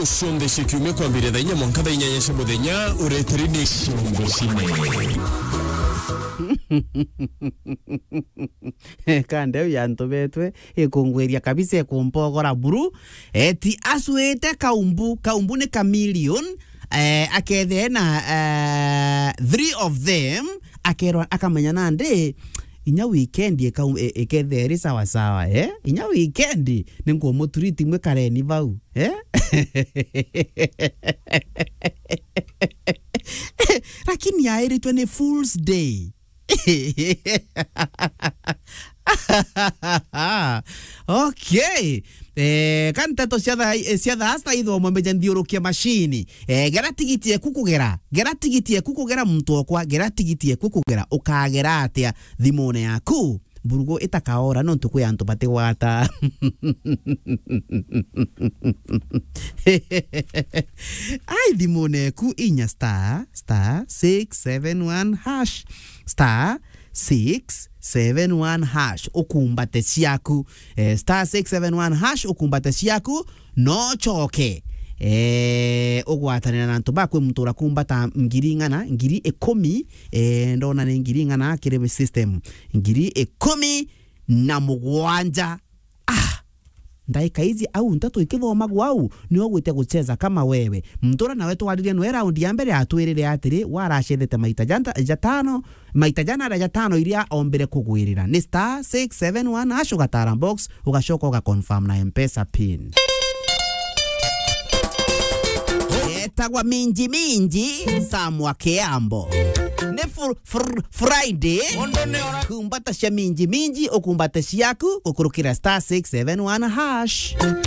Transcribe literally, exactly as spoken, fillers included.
Cionthe cia kiumia kwambiria thaa inya mwanka thaa inyanya cia muthenya, ureteri ni ciongo cine. Kande u yantu betwe, ikungwiria kabisa, ikumpogora buru. Eti acwite kaumbu, kaumbu ni chameleon, eh, akethee na, eh, three of them, akerwa akamenya nandi, inya weekend ikau-, i-, ikethee iri sawa sawa, eh? Inya weekend, ni nkumutreat mwikareni bau, eh? Lakini yairitwe ni Fool's Day. Okay. Eh, ka nteto cia thaa, eh, cia thaa cita ithomo mbeja nthiurukie macini. Eh, gera tigiti eku kugera. Gera tigiti eku kugera muntu okwa. Gera tigiti eku kugera. Ukagera atia thimune yaku? Mburugu itakaora nontu kwi antu batigwata. Ai, thimune eku inya star, star six seven one hash, star six seven one hash, ukumbate ciaku. Eh, star six seven one hash, ukumbate ciaku, no coke. Eh, ugwatanira na antu ba kwi muntu urakumbata ngiri ing'ana, ngiri ikumi, eh, ndona ni ngiri ing'ana kiri system. Ngiri ikumi na mugwanja. Ah! Ndaika ici au nteto ikithomagwa au, ni ugwite gucheza kama wewe. Mtura nawe twaririe nwe raundi ya mbere atwirire atiri, waracethete maita janta-, jatano, maita jana aria jatano iria ombire kugwirira. Ni star six seven one hash ugatara box, ugacoka ugaconfirm na M-Pesa pin. Etagwa Minji Minji, Sam wa Kiambo. Ni fr-, fr-, Friday. Kumbata cia Minji Minji, ukumbate ciaku, gukurukira star six seven one hash.